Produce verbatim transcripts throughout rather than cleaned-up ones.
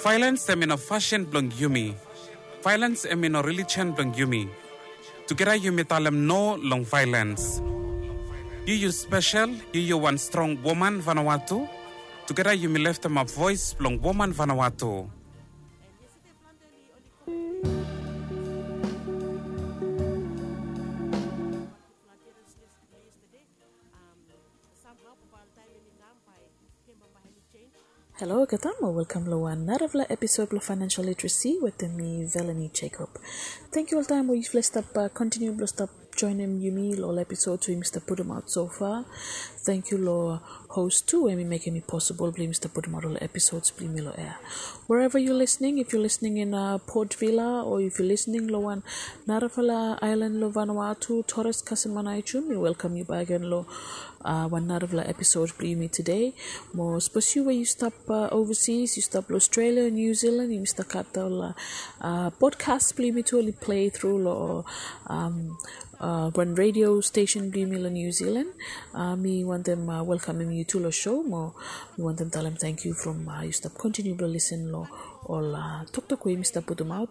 Vailens em i no fasin blong yumi. Vailens em i no relijian blong yumi. Tugeta yumi talem no long vailens. Yu yu spesel, yu yu wan strong woman Vanuatu. Tugeta yumi leftemap voes blong woman Vanuatu. Halo olgeta mo welkam long wan narafala episod blong Financial Literacy wetem mi, Velanie Jacob. Tangkiu oltaem we yufala i stap kontiniu blong stap joenem yumi long ol episods we yumi stap putumaot so far. Tangkiu long hos tu we hemi mekem i posibol blong yumi stap putumaot ol episods blong yumi long ea. Wherever you're listening, if you're listening in Port Vila o if you're listening long wan narafala aelan long Vanuatu, Torres kasem Aneityum, mi welkam yu bakegen long wan narafala episod blong yumi tede. Mo sapos yu we yu stap overseas, yu stap long Australia, New Zealand, yumi stap gat ol podcast blong yumi tu oli play tru long wan radio stesen blong yumi long New Zealand. Mi wantem welkamem yu tu long show mo mi wantem talem tangkiu from yu stap kontiniu blong lisen long ol toktok we yumi stap putumaot.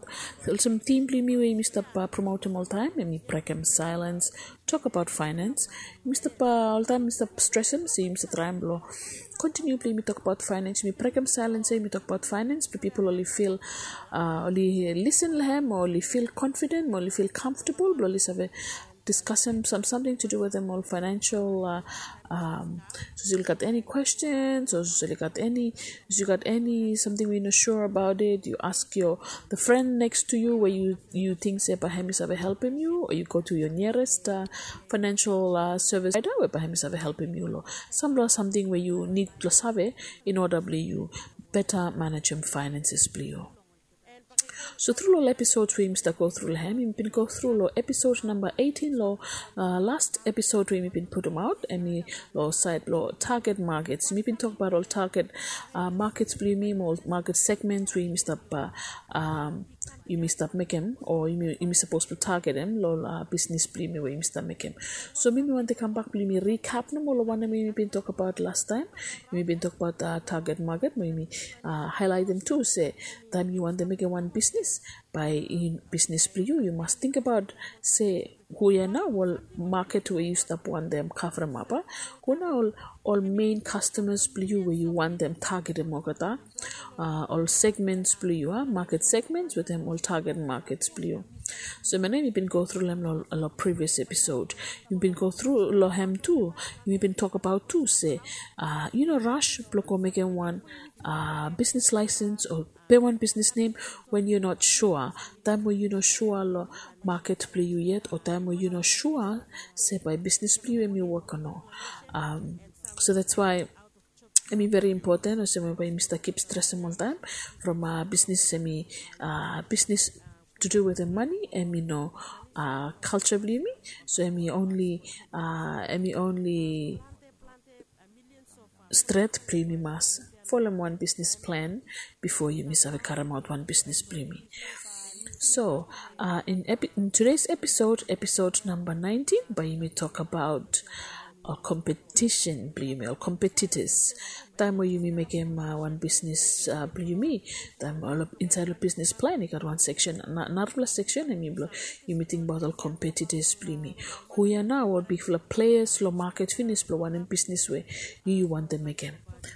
Olsem tim blong yumi we yumi stap promotem oltaem, hemi brekem silence, tokbaot finance. Yumi stap oltaem yumi stap stresem se yumi stap traem blong kontiniu blong yumi tokbaot finance. Yumi brekem silence ya yumi tokbaot finance blong pipol oli fil, oli lisen long hem mo oli fil confident mo oli fil comfortable blong oli save diskasem sam samting to do wetem ol financial, sapos oli gat eni questions o sapos oli gat eni, sapos yu gat eni samting we yu no sure about it, yu ask your, the friend next to you we yu yu ting se bae hemi save helpem yu, o yu go to your nearest financial service provider we bae hemi save helpem yu long samfala samting we yu nid blong save in order blong yu beta manejem finances blong yu. So tru long ol episods we yumi stap go tru long hem, yumi bin go tru long episod namba eighteen long last episod we yumi bin putumaot, hemi long saed blong target markets. Yumi bin tokbaot ol target markets blong yumi mo ol market segments we yumi stap yumi stap mekem o yumi sapos blong targetem long bisnis blong yumi we yumi stap mekem. So mi mi wantem kambak blong yumi recap nomo long wanem we yumi bin tokbaot lastaem. Yumi bin tokbaot target market mo yumi haelaetem tu se taem yu wantem mekem wan bisnis, bae bisnis blong yu yu mas tingbaot se hu ya nao ol maket we yu stap wantem kavremap. Hu nao ol mein kastamas blong yu we yu wantem targetem olgeta, ol segments blong yu, maket segments wetem ol target markets blong yu. So hemia nao yumi bin go tru long hem long previous episod. Yumi bin go tru long hem tu. Yumi bin tokbaot tu se yu no ras blong go mekem wan bisnis laesens o pe wan bisnis nem wen yu not sua, taem we yu no sua long maket blong yu yet o taem we yu no sua se bae bisnis blong yu hemi wok o no. So that's why hemi veri impoten olsem we bae yumi stap kip stresem oltaem from bisnis hemi bisnis to do wetem mane, hemi no culture blong yumi. So hemi only hemi only stret blong yumi mas folem wan bisnis plan bifo yumi save karemaot wan bisnis blong yumi. So in today's episode, episode namba nineteen, bae yumi tokbaot ol competition blong yumi, ol competitors. Taem we yumi mekem wan bisnis blong yumi, taem insaed long bisnis plan i gat wan seksen, narafala seksen hemi blong yumi tingbaot ol competitors blong yumi. Hu ya nao ol bigfala players long maket finis blong wanem bisnis we yu yu wantem mekem.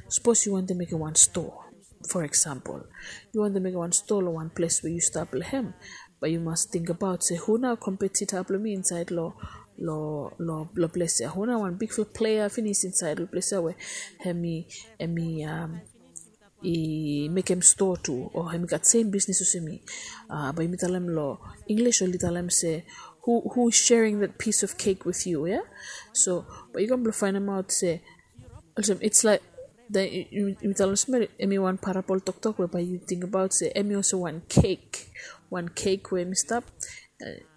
Sapos yu wantem mekem wan stoa, for example, yu wantem mekem wan stoa long wan ples we yu stap long hem, bae yu mas tingbaot se hu nao competitor blong mi insaed long long ples ya, hu nao wan bigfala plea finis insaed long ples ya we hemi hemi i mekem stoa tu o hemi gat sem bisnis olsem mi. Bae yumi talem long English oli talem se who who is sharing that piece of cake with you ya. So bae yu kam blong faenemaot se olsem it's like yumi talem olsem hemi wan parabol toktok we bae yu tingbaot se hemi olsem wan kek, wan kek we hemi stap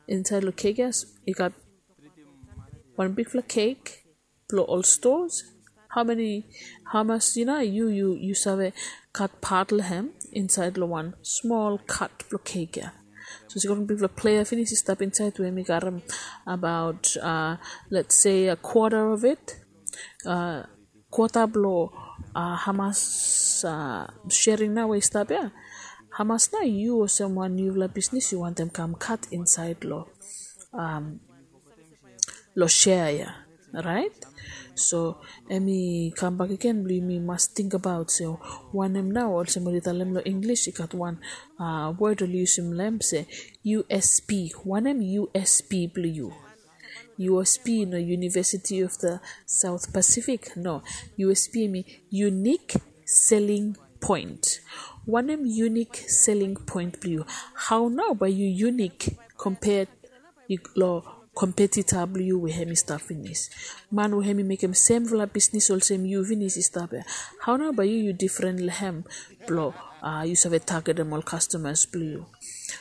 insaed long kek ya i gat wan bigfala kek blong ol stoas. Hao mani, hamas yu nao yu yu yu save gat pat long hem insaed long wan smol kat blong kek ya. So i gat wan bigfala plea finis i stap insaed we hemi karem abaot let's say a quarter of it, kwata blong hamas sharing nao we i stap ya, hamas nao yu olsem wan niufala bisnis yu wantem kam kat insaed long long share ya, right? So em i kambak agen blong yumi mas tingbaot se wanem nao olsem oli talem long English i gat wan word oli yusum long em se U S P. Wanem U S P blong yu? U S P no University of the South Pacific, no. U S P em i unique selling point. Wanem unique selling point blong yu? Hao nao bae yu unique compared long competitor blong yu we hem i stap finis? Man we hem i mekem semfala bisnis olsem yu finis i stap ya. Hao nao bae yu yu difren long hem blong yu save targetem ol customers blong yu?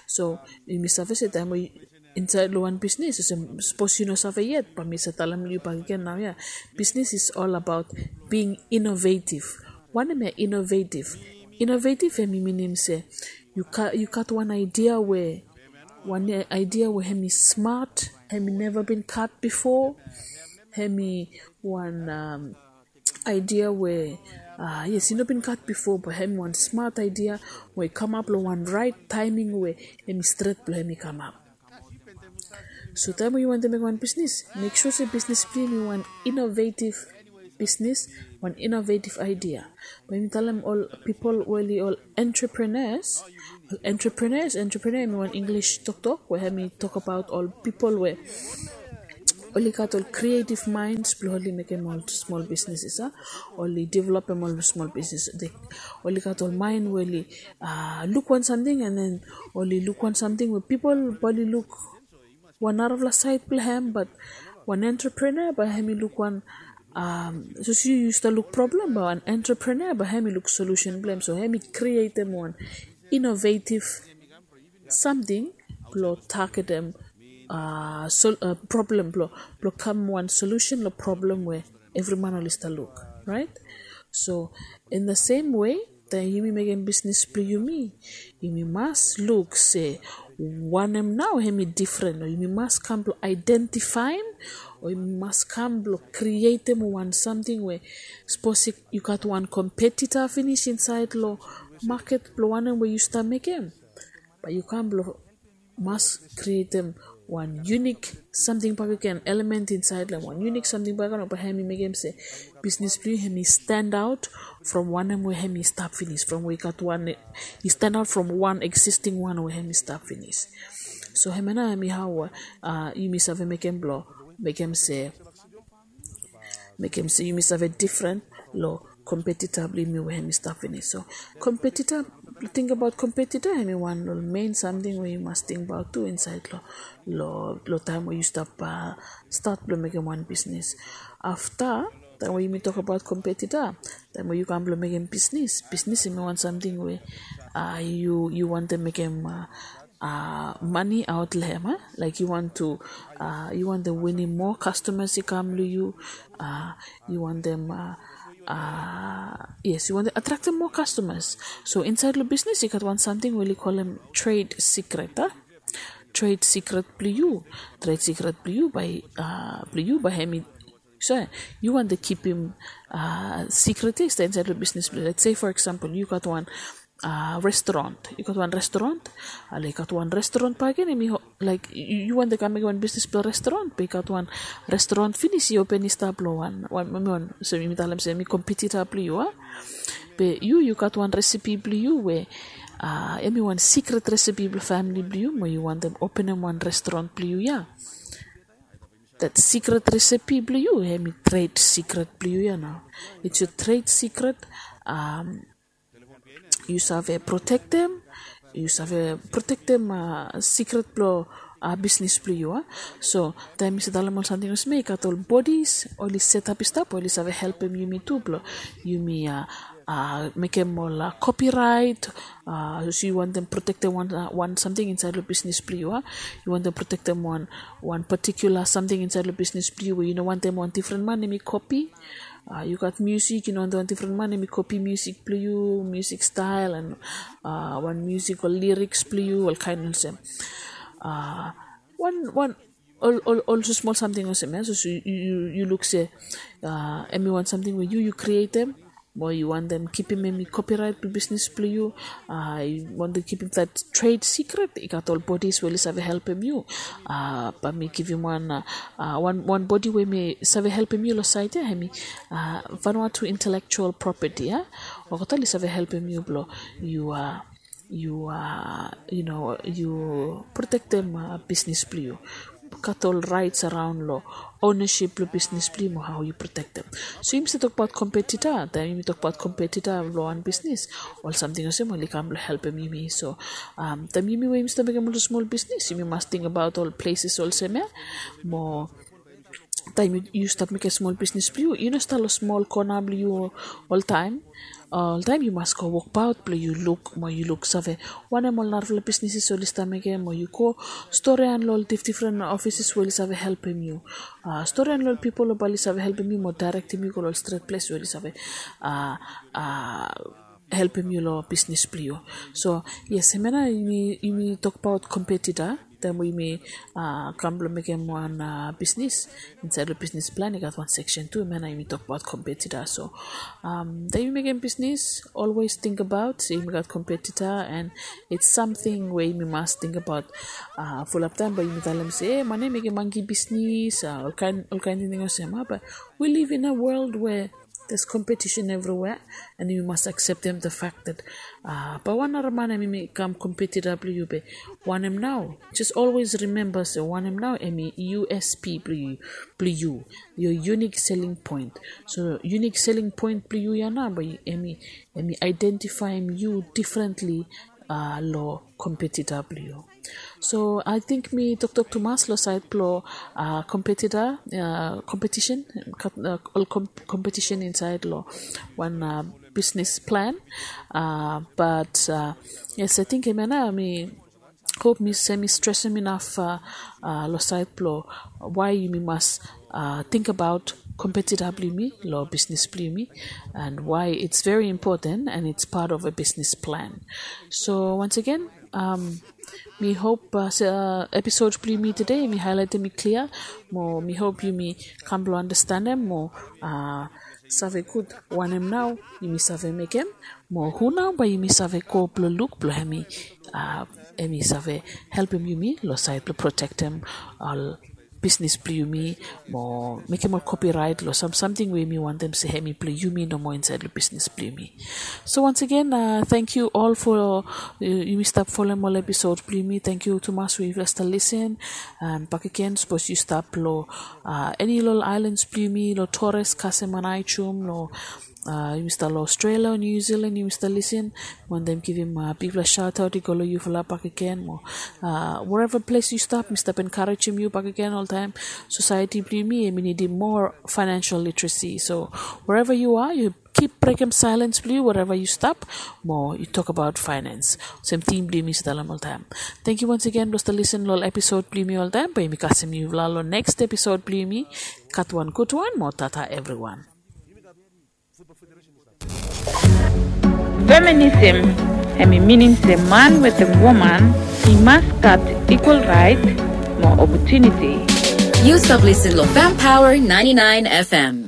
So yumi save se taem we insaed long wan bisnis olsem sapos yu no save yet bae mi save talem long yu bakegen nao ya. Bisnis is all about being innovative. Wanem ya innovative? Innovative hem i minim se yu gat wan idea we wan idea we hem i smat, hem i neva bin gat bifo, hem i wan idea we yes i no bin gat bifo, be hem i wan smat idea we i kamap long wan raet taeming we hem i stret blong hem i kamap. So taem we yu wantem mekem wan bisnis, mek sua se bisnis blong yu hem i wan innovative bisnis, wan innovative idea. Bae yumi talem ol pipol we oli ol entrepreneurs. Ol entrepreneurs, entrepreneur hem i wan English toktok we hem i tokbaot ol pipol we oli gat ol creative minds blong oli mekem ol smol bisnis a, oli developem ol smol bisnis. Oli gat ol mind we oli luk wan samting and then oli luk wan samting we pipol bae oli luk wan narafala saed blong hem, but wan entrepreneur bae hem i luk wan sapos yu yu stap luk problem, bae wan entrepreneur bae hem i luk solution blong hem. So hem i krietem wan innovative samting blong targetem problem blong kam wan solution long problem we evri man oli stap luk, right? So in the same way taem yumi mekem bisnis blong yumi, yumi mas luk se wanem nao hem i difren, o yumi mas kam blong aedentifaem, o yumi mas kam blong krietem wan samting we sapos yu gat wan kompetita finis insaed long maket blong wanem we yu stap mekem, bae yu kam blong mas krietem wan unik samting bakegen, element insaed long hem, wan unik samting bakegen we bae hem i mekem se bisnis blong yu hem i stand out from wanem we hem i stap finis, from we i gat wan i stand out from wan existing wan we hem i stap finis. So hemia nao hem i hao we yumi save mekem blong mekem se mekem se yumi save difren long kompetita blong yumi we hem i stap finis. So kompetita, tingbaot kompetita hem i wan long ol mein samting we yu mas tingbaot tu insaed long taem we yu stap stat blong mekem wan bisnis. Afta taem we yumi tokbaot kompetita, taem we yu kam blong mekem bisnis, bisnis hem i wan samting we yu wantem mekem mane aot long hem, laek yu wantem winim moa kastomas i kam long yu, yu wantem yes yu wantem atraktem moa kastomas. So insaed long bisnis i gat wan samting we oli kolem tred sikret a. Tred sikret blong yu, tred sikret blong yu bae blong yu bae hem i so yu wantem kipim sikret ya i stap insaed long bisnis blong yu. Let's say for example yu gat wan restaurant, yu gat wan restaurant, ale i gat wan restaurant bakegen hem i laek yu wantem kam mekem wan bisnis blong restaurant, be i gat wan restaurant finis i open i stap long wan wan wan wan olsem yumi talem se hem i kompetita blong yu a. Be yu yu gat wan resepi blong yu we hem i wan sikret resepi blong famili blong yu mo yu wantem openem wan restaurant blong yu ya. Dat sikret resepi blong yu hem i tred sikret blong yu ya nao. It's your tred sikret. Yu save protektem, yu save protektem sikret blong bisnis blong yu a. So taem mi save talem ol samting olsem ya i gat ol bodis oli setap i stap we oli save helpem yumi tu blong yumi mekem ol kopiraet. Sapos yu wantem protektem wan samting insaed long bisnis blong yu a, yu wantem protektem wan patikula samting insaed long bisnis blong yu we yu no wantem wan difren man hem i kopi. Yu gat musik, yu no wantem wan difren man hem i kopi musik blong yu, musik stael and wan musik ol liriks blong yu, ol kaen olsem. Wan wan ol ol ol smol samting olsem ya. Sapos yu yu luk se hem i wan samting we yu yu krietem mo yu wantem kipim em i kopirait blong bisnis blong yu, yu wantem kipim dat tred sikret, i gat ol bodis we oli save helpim yu. Bae mi givim wan wan bodi we mi save helpim yu long sait ya, em i Vanuatu Intellectual Property ya. Olgeta oli save helpim yu blong yu yu yu protektem bisnis blong yu. Gat ol raits araon long ownasip blong bisnis blong yu mo hao yu protektem. So yumi save tokbaot kompetita, taem yumi tokbaot kompetita blong wan bisnis, ol samting olsem oli kam blong helpim yumi. So taem yumi we yumi stap mekem ol smol bisnis, yumi mas tingbaot ol pleses olsem ya. Mo taem yu stap mekem smol bisnis blong yu, yu no stap long smol kona blong yu oltaem. Oltaem yu mas go wokbaot blong yu luk mo yu luk save wanem ol narafala bisnises oli stap mekem, mo yu go storian long ol difdifren ofises we oli save helpim yu. Storian long ol pipol we bae oli save helpim yu mo daerektem yu go long ol stret ples we oli save helpim yu long bisnis blong yu. So yes, hemia nao yumi tokbaot kompetita taem we yumi kam blong mekem wan bisnis. Insaed long bisnis plan i gat wan seksen tu, hemia nao yumi tokbaot kompetita. So taem yumi mekem bisnis, olwes tingbaot se yumi gat kompetita, and it's samting we yumi mas tingbaot. Fulap taem bae yumi talem se, e, man ya i mekem manki bisnis, olkaen tingting olsem. Bae we live in a world where there's competition everywhere, and yumi mas akseptem the fact that bae wan nara man em i kam kompetita blong yu, be wanem nao? Just always remember se wanem nao em i USP blong yu, your unique selling point. So unique selling point blong yu ya nao bae em i aedentifaem yu difrentli long kompetita blong yu. So ating mi toktok tumas long sait blong kompetita, kompetisen, ol kompetisen insaed long wan bisnis plan. Bat yes, ating hemia nao mi hop se mi stresem inaf long sait blong wae yumi mas tingbaot kompetita blong yumi long bisnis blong yumi, and why it's very important and it's part of a business plan. So once again, mi hop se episod blong yumi tede mi haelaetem i klia, mo mi hop yumi kam blong andastanem mo save gud wanem nao yumi save mekem, mo hu nao bae yumi save go blong luk blong em i save helpim yumi long sait blong protektem ol bisnis blong yumi, mo mekem ol kopiraet long sam samting we yumi wantem se em i blong yumi nomo insaed long bisnis blong yumi. So once again, tangkiu ol fo yumi stap folem ol episod blong yumi. Tangkiu tumas we yufala stap lisin. And bakegen, sapos yu stap long eni long ol aelans blong yumi, long Torres, Cayman, Aegean, long yumi stap long Australia o New Zealand, yumi stap lisin, wantem givim bigfala shaotaot i go long yufala bakegen. Mo wherever ples yu stap, mi stap enkarejem yu bakegen oltaem. Sosaeti blong yumi em i nidim moa financial literacy. So wherever you are, yu kip brekem saelens blong yu wherever yu stap, mo yu tokbaot faenens olsem tim blong yumi stap talem oltaem. Tangkiu once again blong stap lisin long ol episod blong yumi oltaem. Bae yumi kasem yufala long neks episod blong yumi. Gat wan gudwan mo tata evriwan. Feminism hemi minim se man wetem woman i mas gat ikwal raet mo opotuniti. Yu stap lisin long Fem Power ninety-nine F M.